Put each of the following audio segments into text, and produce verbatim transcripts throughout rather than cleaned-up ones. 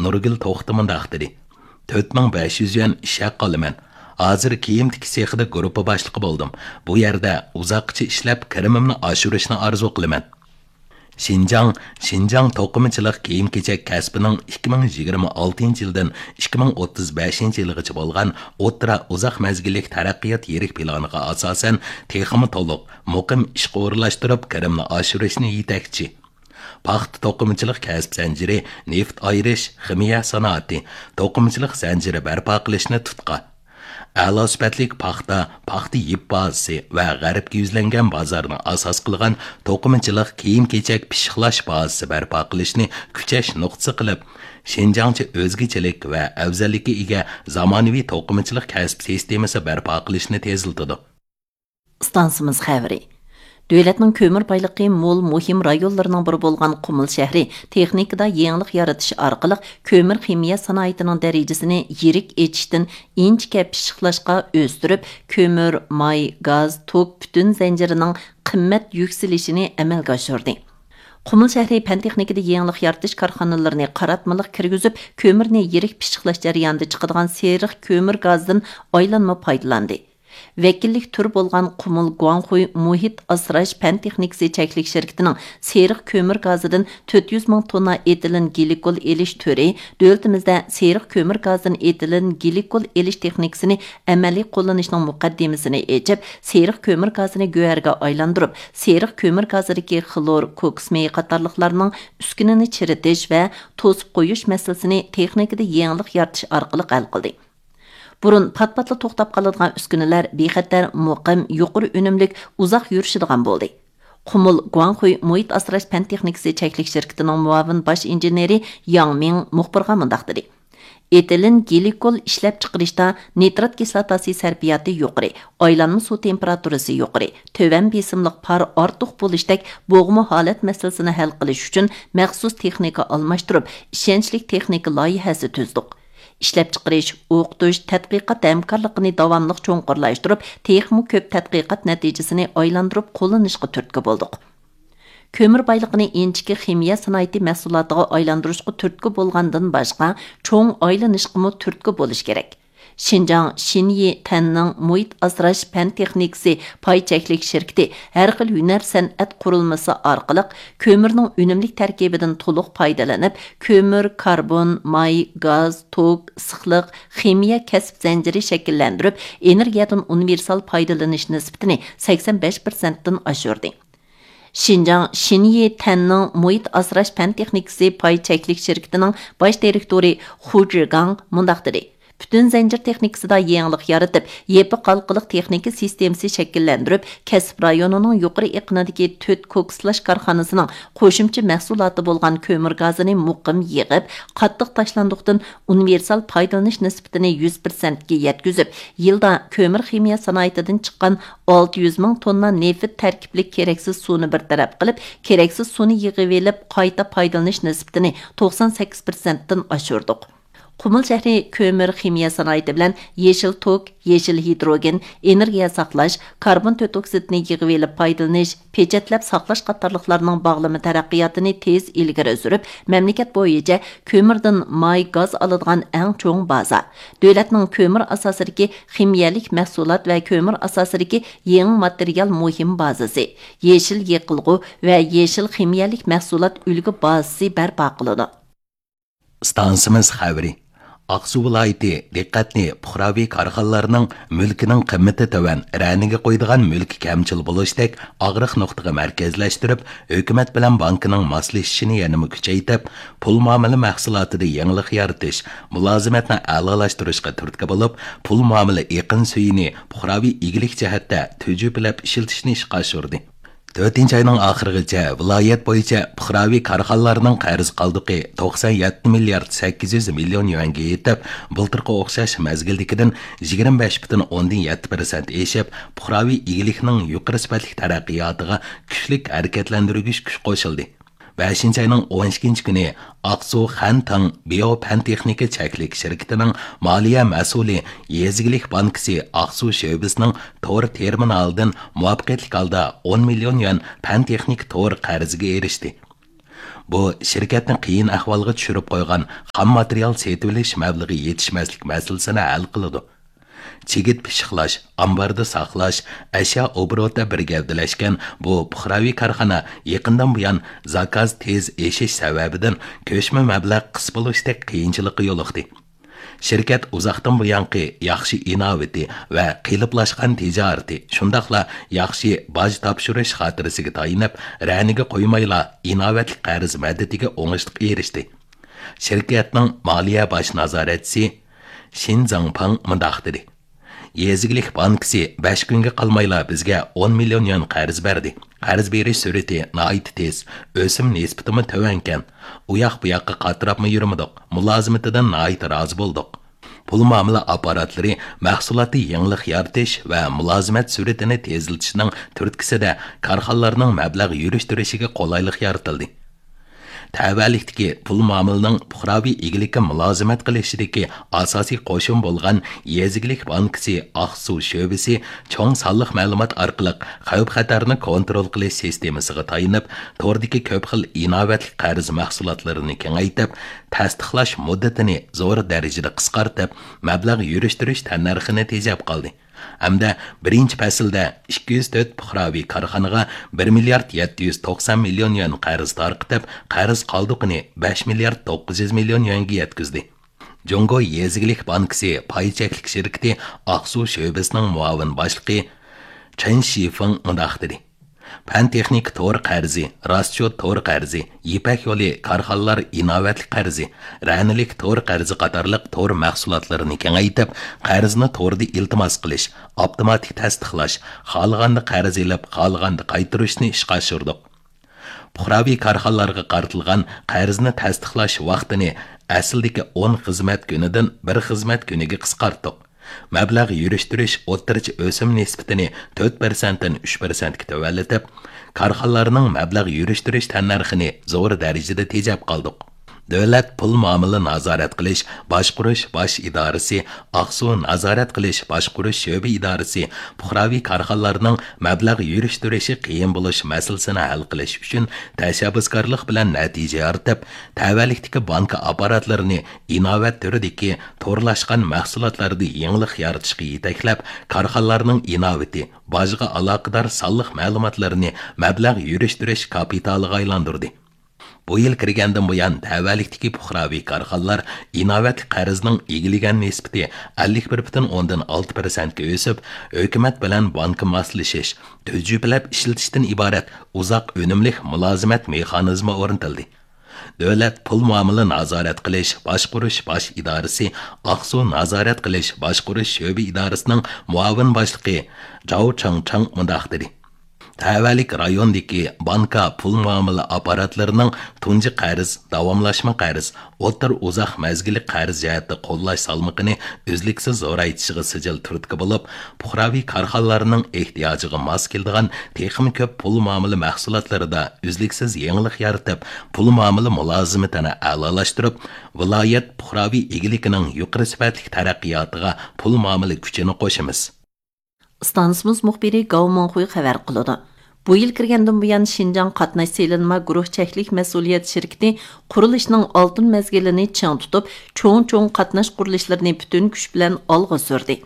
نۇرگۈل توختى مۇنداق دېدى: «تۆت مىڭ بەش يۈز يۈەن ئىش ھەققى ئالىمەن. ھازىر كىيىم تىكىش سېخىدا گۇرۇپپا باشلىقى بولدۇم. بۇ يەردە ئۇزاققىچە ئىشلەپ، كىرىمىمنى ئاشۇرۇشنى ئارزۇ قىلىمەن.» شىنجاڭ، شىنجاڭ توقۇمىچىلىق كىيىم-كېچەك كەسپىنىڭ ئىككى مىڭ يىگىرمە ئالتىنچى يىلدىن ئىككى مىڭ ئوتتۇز بەشىنچى يىلغىچە بولغان ئوتتۇرا ئۇزاق مەزگىللىك تەرەققىيات يىرىك پىلانىغا ئاساسەن، تېخىمۇ تولۇق، مۇقىم ئىشقا ئورۇنلاشتۇرۇپ، كىرىمنى ئاشۇرۇشنى يېتەكچى، پاختا توقۇمىچىلىق كەسىپ زەنجىرى، نېفىت ئايرىش، خىمىيە سانائىتى، توقۇمىچىلىق زەنجىرى بەرپا قىلىشنى تۇتقا، ئەلا سۈپەتلىك پاختا، پاختا يىپ بازىسى ۋە غەربكە يۈزلەنگەن بازارنى ئاساس قىلغان توقۇمىچىلىق كىيىم-كېچەك پىششىقلاش بازىسى بەرپا قىلىشنى كۈچەش نۇقتىسى قىلىپ، شىنجاڭچە ئۆزگىچىلىك ۋە ئەۋزەللىككە ئىگە زامانىۋى توقۇمىچىلىق كەسىپ سىستېمىسى بەرپا قىلىشنى تېزلىتىدۇ. ئىستانسىمىز خەۋىرى. دۆلەتنىڭ كۆمۈر بايلىقى مول مۇھىم رايونلىرىنىڭ بىرى بولغان قۇمۇل شەھىرى تېخنىكىدا يېڭىلىق يارىتىش ئارقىلىق كۆمۈر خىمىيە سانائىتىنىڭ دەرىجىسىنى يىرىك ئېچىشتىن ئىنچىكە پىششىقلاشقا ئۆستۈرۈپ، كۆمۈر، ماي، گاز، توك پۈتۈن زەنجىرىنىڭ قىممەت يۈكسىلىشىنى ئەمەلگە ئاشۇردى. قۇمۇل شەھىرى پەن تېخنىكىدا يېڭىلىق يارىتىش كارخانىلىرىنى قاراتمىلىق كىرگۈزۈپ، كۆمۈرنى يىرىك پىششىقلاش جەريانىدا چىقىدىغان سېرىق كۆمۈر گازىدىن ئايلانما پايدىلاندى. ۋەكىللىك تۈرى بولغان قۇمۇل گۇاڭخۇي مۇھىت ئاسراش پەن تېخنىكىسى چەكلىك شىركىتىنىڭ سېرىق كۆمۈر گازىدىن تۆت يۈز مىڭ توننا ئېتىلېن گلىكول ئېلىش تۈرى دۆلىتىمىزدە سېرىق كۆمۈر گازىدىن ئېتىلېن گلىكول ئېلىش تېخنىكىسىنى ئەمەلىي قوللىنىشنىڭ مۇقەددىمىسىنى ئېچىپ، سېرىق كۆمۈر گازىنى گۆھەرگە ئايلاندۇرۇپ، سېرىق كۆمۈر گازىدىكى خلور، كوكس مېيى قاتارلىقلارنىڭ ئۈسكۈنىنى چىرىتىش ۋە توسۇپ قويۇش مەسىلىسىنى تېخنىكىدا يېڭىلىق يارىتىش ئارقىلىق ھەل قىلدى. بۇرۇن پات-پاتلا توختاپ قالىدىغان ئۈسكۈنىلەر بىخەتەر، مۇقىم، يۇقىرى ئۈنۈملۈك، ئۇزاق يۈرۈشىدىغان بولدى. قۇمۇل گۇاڭخۇي مۇھىت ئاسراش پەن تېخنىكىسى چەكلىك شىركىتىنىڭ مۇئاۋىن باش ئىنژېنېرى ياڭ مىڭ مۇخبىرغا مۇنداق دېدى: ئېتىلېن گلىكول ئىشلەپچىقىرىشتا نىترات كىسلاتاسى سەرپىياتى يۇقىرى، ئايلانما سۇ تېمپېراتۇرىسى يۇقىرى، تۆۋەن بېسىملىق پار ئارتۇق بولۇشتەك بوغما ھالەت مەسىلىسىنى ھەل قىلىش ئۈچۈن مەخسۇس تېخنىكا ئالماشتۇرۇپ، ئىشەنچلىك تېخنىكا لايىھەسى تۈزدۇق. ئىشلەپچىقىرىش، ئوقۇتۇش، تەتقىقات ھەمكارلىقىنى داۋاملىق چوڭقۇرلاشتۇرۇپ، تېخىمۇ كۆپ تەتقىقات نەتىجىسىنى ئايلاندۇرۇپ قوللىنىشقا تۈرتكە بولدۇق. كۆمۈر بايلىقىنى ئىنچىكە خىمىيە سانائىتى مەھسۇلاتىغا ئايلاندۇرۇشقا تۈرتكە بولغاندىن باشقا، چوڭ ئايلىنىشقىمۇ تۈرتكە بولۇش كېرەك. شىنجاڭ شىنيى تەننىڭ مۇھىت ئاسراش پەن تېخنىكىسى پاي چەكلىك شىركىتى ھەر خىل ھۈنەر سەنئەت قۇرۇلمىسى ئارقىلىق كۆمۈرنىڭ ئۈنۈملۈك تەركىبىدىن تولۇق پايدىلىنىپ، كۆمۈر، كاربون، ماي، گاز، توك، ئىسسىقلىق، خىمىيە كەسىپ زەنجىرى شەكىللەندۈرۈپ، ئېنېرگىيەدىن ئۇنىۋېرسال پايدىلىنىش نىسبىتىنى سەكسەن بەش پىرسەنتتىن ئاشۇردى. شىنجاڭ شىنيى تەننىڭ مۇھىت ئاسراش پەن تېخنىكىسى پاي چەكلىك شىركىتىنىڭ باش دىرېكتورى خۇ جىگاڭ مۇنداق دېدى: پۈتۈن زەنجىر تېخنىكىسىدا يېڭىلىق يارىتىپ، يېپىق ھالقىلىق تېخنىكا سىستېمىسى شەكىللەندۈرۈپ، كەسىپ رايونىنىڭ يۇقىرى ئېقىنىدىكى تۆت كوكسلاش كارخانىسىنىڭ قوشۇمچە مەھسۇلاتى بولغان كۆمۈر گازىنى مۇقىم يىغىپ، قاتتىق تاشلاندۇقتىن ئۇنىۋېرسال پايدىلىنىش نىسبىتىنى يۈز پىرسەنتكە يەتكۈزۈپ، يىلدا كۆمۈر خىمىيە سانائىتىدىن چىققان ئالتە يۈز مىڭ توننا نېفىت تەركىبلىك كېرەكسىز سۇنى بىر تەرەپ قىلىپ، كېرەكسىز سۇنى يىغىۋېلىپ، قايتا پايدىلىنىش نىسبىتىنى توقسان سەككىز پىرسەنتتىن ئاشۇردۇق. قۇمۇل شەھىرى كۆمۈر خىمىيە سانائىتى بىلەن يېشىل توك، يېشىل ھىدروگېن، ئېنېرگىيە ساقلاش، كاربون تۆت ئوكسىدىنى يىغىۋېلىپ پايدىلىنىش، پېچەتلەپ ساقلاش قاتارلىقلارنىڭ باغلىما تەرەققىياتىنى تېز ئىلگىرى سۈرۈپ، مەملىكەت بويىچە كۆمۈردىن ماي، گاز ئالىدىغان ئەڭ چوڭ بازا، دۆلەتنىڭ كۆمۈر ئاساسىدىكى خىمىيەلىك مەھسۇلات ۋە كۆمۈر ئاساسىدىكى يېڭى ماتېرىيال مۇھىم بازىسى، يېشىل يېقىلغۇ ۋە يېشىل خىمىيەلىك مەھسۇلات ئۈلگە بازىسى بەرپا قىلىدۇ. ئىستانسىمىز خەۋىرى. ئاقسۇ ۋىلايىتى دىققەتنى پۇقراۋى كارخانىلارنىڭ مۈلكىنىڭ قىممىتى تۆۋەن، رەنىگە قويىدىغان مۈلكى كەمچىل بولۇشتەك ئاغرىق نۇقتىغا مەركەزلەشتۈرۈپ، ھۆكۈمەت بىلەن بانكىنىڭ ماسلىشىشىنى يەنىمۇ كۈچەيتىپ، پۇل مۇئامىلە مەھسۇلاتىدا يېڭىلىق يارىتىش، مۇلازىمەتنى ئەلالاشتۇرۇشقا تۈرتكە بولۇپ، پۇل مۇئامىلە ئېقىن سۈيىنى پۇقراۋى ئىگىلىك جەھەتتە تۈجۈپىلەپ ئىشلىتىشنى ئىشقا ئاشۇردى. تۆتىنچى ئاينىڭ ئاخىرىغىچە ۋىلايەت بويىچە پۇقراۋى كارخانىلارنىڭ قەرز قالدۇقى توقسان يەتتە مىليارد سەككىز يۈز مىليون يۈەنگە يېتىپ، بۇلتۇرقى ئوخشاش مەزگىلدىكىدىن يىگىرمە بەش پۈتۈن ئوندىن يەتتە پىرسەنت ئېشىپ، پۇقراۋى ئىگىلىكنىڭ يۇقىرى سۈپەتلىك تەرەققىياتىغا كۈچلۈك ھەرىكەتلەندۈرگۈچ كۈچ قوشۇلدى. بەشىنچى ئاينىڭ ئون ئىككىنچى كۈنى ئاقسۇ خەنتىڭ بىيو پەن تېخنىكا چەكلىك شىركىتىنىڭ مالىيە مەسئۇلى، يېزا ئىگىلىك بانكىسى ئاقسۇ شۆبىسىنىڭ تور تېرمىنالىدىن مۇۋەپپەقىيەتلىك ھالدا ئون مىليون يۈەن پەن تېخنىكا تور قەرزىگە ئېرىشتى. بۇ شىركەتنى قىيىن ئەھۋالغا چۈشۈرۈپ قويغان خام ماتېرىيال سېتىۋېلىش مەبلىغى يېتىشمەسلىك مەسىلىسىنى ھەل قىلىدۇ. چىگىت پىششىقلاش، ئامباردا ساقلاش، ئەشيا ئوبوروتى بىر گەۋدىلەشكەن بۇ پۇقراۋى كارخانا يېقىندىن بۇيان زاكاز تېز ئېشىش سەۋەبىدىن كۆچمە مەبلەغ قىس بولۇشتەك قىيىنچىلىققا يولۇقتى. شىركەت ئۇزاقتىن بۇيانقى ياخشى ئىناۋىتى ۋە قېلىپلاشقان تىجارىتى، شۇنداقلا ياخشى باج تاپشۇرۇش خاتىرىسىگە تايىنىپ، رەنىگە قويمايلا ئىناۋەتلىك قەرز مەدىتىگە ئوڭۇشلۇق ئېرىشتى. شىركەتنىڭ مالىيە باش نازارەتچىسى شىن زاڭپاڭ مۇنداق دېدى: يېزا ئىگىلىك بانكىسى بەش كۈنگە قالمايلا بىزگە ئون مىليون يۈەن قەرز بەردى. قەرز بېرىش سۈرئىتى ناھايىتى تېز، ئۆسۈم نىسبىتىمۇ تۆۋەنكەن. ئۇياق بۇياققا قاتراپمۇ يۈرمىدۇق، مۇلازىمىتىدىن ناھايىتى رازى بولدۇق. پۇل مۇئامىلە ئاپپاراتلىرى مەھسۇلاتتا يېڭىلىق يارىتىش ۋە مۇلازىمەت سۈرئىتىنى تېزلىتىشنىڭ تۈرتكىسىدە كارخانىلارنىڭ مەبلەغ يۈرۈشتۈرۈشىگە قولايلىق يارىتىلدى. تەۋەلىكتىكى پۇل مۇئامىلىنىڭ پۇقراۋى ئىگىلىككە مۇلازىمەت قىلىشىدىكى ئاساسىي قوشۇن بولغان يېزا ئىگىلىك بانكىسى ئاقسۇ شۆبىسى چوڭ سانلىق مەلۇمات ئارقىلىق خەۋپ-خەتەرنى كونترول قىلىش سىستېمىسىغا تايىنىپ، توردىكى كۆپ خىل ئىناۋەتلىك قەرز مەھسۇلاتلىرىنى كېڭەيتىپ، تەستىقلاش مۇددىتىنى زور دەرىجىدە قىسقارتىپ، مەبلەغ يۈرۈشتۈرۈش تەننەرخىنى تېجەپ قالدى. ھەمدە بىرىنچى پەسىلدە ئىككى يۈز تۆت پۇقراۋى كارخانىغا بىر مىليارد يەتتە يۈز توقسان مىليون يۈەن قەرز تارقىتىپ، قەرز قالدۇقىنى بەش مىليارد توققۇز يۈز مىليون يۈەنگە يەتكۈزدى. جۇڭگو يېزا ئىگىلىك بانكىسى پاي چەكلىك شىركىتى ئاقسۇ شۆبىسىنىڭ مۇئاۋىن باشلىقى چېن شىفېڭ مۇنداق دېدى: پەن تېخنىكا تور قەرزى، راسچوت تور قەرزى، يىپەك يولى كارخانىلار ئىناۋەتلىك قەرزى، رەنىلىك تور قەرزى قاتارلىق تور مەھسۇلاتلىرىنى كېڭەيتىپ، قەرزنى توردا ئىلتىماس قىلىش، ئاپتوماتىك تەستىقلاش، خالىغاندا قەرز ئېلىپ، خالىغاندا قايتۇرۇشنى ئىشقا ئاشۇردۇق. پۇقراۋى كارخانىلارغا قارىتىلغان قەرزنى تەستىقلاش ۋاقتىنى ئەسلىدىكى ئون خىزمەت كۈنىدىن بىر خىزمەت كۈنىگە قىسقارتتۇق. مەبلەغ يۈرۈشتۈرۈش ئوتتۇرىچە ئۆسۈم نىسبىتىنى تۆت پىرسەنتتىن ئۈچ پىرسەنتكە تۆۋەنلىتىپ، كارخانىلارنىڭ مەبلەغ يۈرۈشتۈرۈش تەننەرخىنى زور دەرىجىدە تېجەپ قالدۇق. دۆلەت پۇل مۇئامىلە نازارەت قىلىش باشقۇرۇش باش ئىدارىسى، ئاقسۇ نازارەت قىلىش باشقۇرۇش شۆبە ئىدارىسى پۇقراۋى كارخانىلارنىڭ مەبلەغ يۈرۈشتۈرۈشى قىيىن بولۇش مەسىلىسىنى ھەل قىلىش ئۈچۈن تەشەببۇسكارلىق بىلەن نەتىجە يارىتىپ، تەۋەلىكتىكى بانكا ئاپپاراتلىرىنى ئىناۋەت تۈرىدىكى تورلاشقان مەھسۇلاتلاردا يېڭىلىق يارىتىشقا يېتەكلەپ، كارخانىلارنىڭ ئىناۋىتى، باجغا ئالاقىدار سانلىق مەلۇماتلىرىنى مەبلەغ يۈرۈشتۈرۈش كاپىتالىغا ئايلاندۇردى. بۇ يىل كىرگەندىن بۇيان، تەۋەلىكتىكى پۇقراۋى كارخانىلار ئىناۋەتلىك قەرزنىڭ ئىگىلىگەن نىسبىتى ئەللىك بىر پۈتۈن ئوندىن ئالتە پىرسەنتكە ئۆسۈپ، ھۆكۈمەت بىلەن بانكا ماسلىشىش، تۈجۈپىلەپ ئىشلىتىشتىن ئىبارەت ئۇزاق ئۈنۈملۈك مۇلازىمەت مېخانىزمى ئورنىتىلدى. دۆلەت پۇل مۇئامىلە نازارەت قىلىش باشقۇرۇش باش ئىدارىسى ئاقسۇ نازارەت قىلىش باشقۇرۇش شۆبە ئىدارىسىنىڭ مۇئاۋىن باشلىقى جاۋ چاڭچاڭ مۇنداق دېدى: تەۋەلىك رايوندىكى بانكا پۇل مۇئامىلە ئاپپاراتلىرىنىڭ تۇنجى قەرز، داۋاملاشما قەرز، ئوتتۇرا ئۇزاق مەزگىللىك قەرز جەھەتتە قوللاش سالمىقىنى ئۈزلۈكسىز زورايتىشىغا سىجىل تۈرتكە بولۇپ، پۇقراۋى كارخانىلارنىڭ ئېھتىياجىغا ماس كېلىدىغان تېخىمۇ كۆپ پۇل مۇئامىلە مەھسۇلاتلىرىدا ئۈزلۈكسىز يېڭىلىق يارىتىپ، پۇل مۇئامىلە مۇلازىمىتىنى ئەلالاشتۇرۇپ، ۋىلايەت پۇقراۋى ئىگىلىكىنىڭ يۇقىرى سۈپەتلىك تەرەققىياتىغا پۇل مۇئامىلە كۈچىنى قوشىمىز. ئىستانسىمىز مۇخبىرى گاۋ مىڭخۇي خەۋەر قىلىدۇ. بۇ يىل كىرگەندىن بۇيان، شىنجاڭ قاتناش سېلىنما گۇرۇھ چەكلىك مەسئۇلىيەت شىركىتى قۇرۇلۇشنىڭ ئالتۇن مەزگىلىنى چىڭ تۇتۇپ، چوڭ-چوڭ قاتناش قۇرۇلۇشلىرىنى پۈتۈن كۈچ بىلەن ئالغا سۈردى.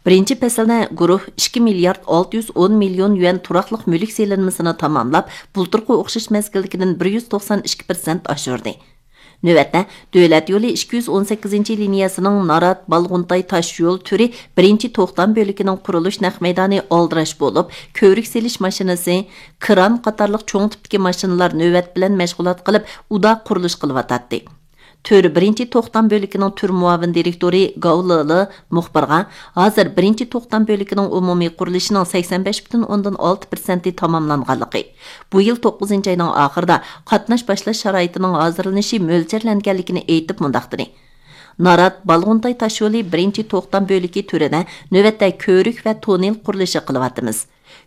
بىرىنچى پەسىلدە گۇرۇھ ئىككى مىليارد ئالتە يۈز ئون مىليون يۈەن تۇراقلىق مۈلۈك سېلىنمىسىنى تاماملاپ، بۇلتۇرقى ئوخشاش مەزگىلدىكىدىن بىر يۈز توقسان ئىككى پىرسەنت ئاشۇردى. نۆۋەتتە، دۆلەت يولى ئىككى يۈز ئون سەككىزىنچى لىنىيەسىنىڭ نارات، بالغۇنتاي تاش يول تۈرى بىرىنچى توختام بۆلىكىنىڭ قۇرۇلۇش نەق مەيدانى ئالدىراش بولۇپ، كۆۋرۈك سېلىش ماشىنىسى، كران قاتارلىق چوڭ تىپتىكى ماشىنىلار نۆۋەت بىلەن مەشغۇلات قىلىپ، ئۇدا قۇرۇلۇش قىلىۋاتاتتى. تۈر بىرىنچى توختام بۆلىكىنىڭ تۈر مۇئاۋىن دىرېكتورى گاۋ لېلې مۇخبىرغا، ھازىر بىرىنچى توختام بۆلىكىنىڭ ئومۇمىي قۇرۇلۇشىنىڭ سەكسەن بەش پۈتۈن ئوندىن ئالتە پىرسەنتى تاماملانغانلىقى، بۇ يىل توققۇزىنچى ئاينىڭ ئاخىرىدا قاتناش باشلاش شارائىتىنىڭ ھازىرلىنىشى مۆلچەرلەنگەنلىكىنى ئېيتىپ مۇنداق دېدى: نارات، بالغۇنتاي تاشيولى بىرىنچى توختام بۆلىكى تۈرىدە نۆۋەتتە كۆۋرۈك ۋە توننېل قۇرۇلۇشى قىلىۋاتىمىز.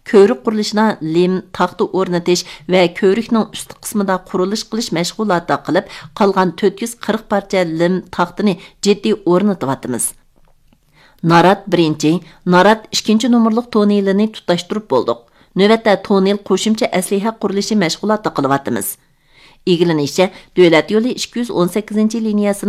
كۆۋرۈك قۇرۇلۇشىدا لىم، تاختا ئورنىتىش ۋە كۆۋرۈكنىڭ ئۈستى قىسمىدا قۇرۇلۇش قىلىش مەشغۇلاتى قىلىپ، قالغان تۆت يۈز قىرىق پارچە لىم، تاختىنى جىددىي ئورنىتىۋاتىمىز. نارات بىرىنچى، نارات ئىككىنچى نومۇرلۇق توننېلىنى تۇتاشتۇرۇپ بولدۇق. نۆۋەتتە توننېل قوشۇمچە ئەسلىھە قۇرۇلۇشى مەشغۇلاتى قىلىۋاتىمىز. ئىگىلىنىشىچە، دۆلەت يولى ئىككى يۈز ئون سەككىزىنچى لىنىيەسىنىڭ